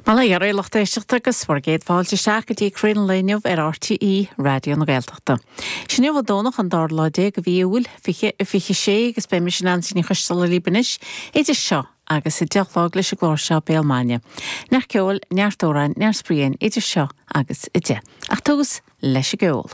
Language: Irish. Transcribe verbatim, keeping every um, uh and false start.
Bail ó Dhia oraibh a lucht éisteachta agus bhur gcéad fáilte isteach go dtí Croí an Lae inniu ar RTÉ Raidió na Gaeltachta. Is inniu an Domhnach an dara lá déag de mhí Iúil fiche a fiche sé agus beidh mise Neansaí Ní Choisdealbha libh anois idir seo agus a deich a chlog leis an gclár seo Béal Maidine. Neart ceoil, neart amhráin, neart spraoi idir seo agus a deich. Ach tús leis an gceol.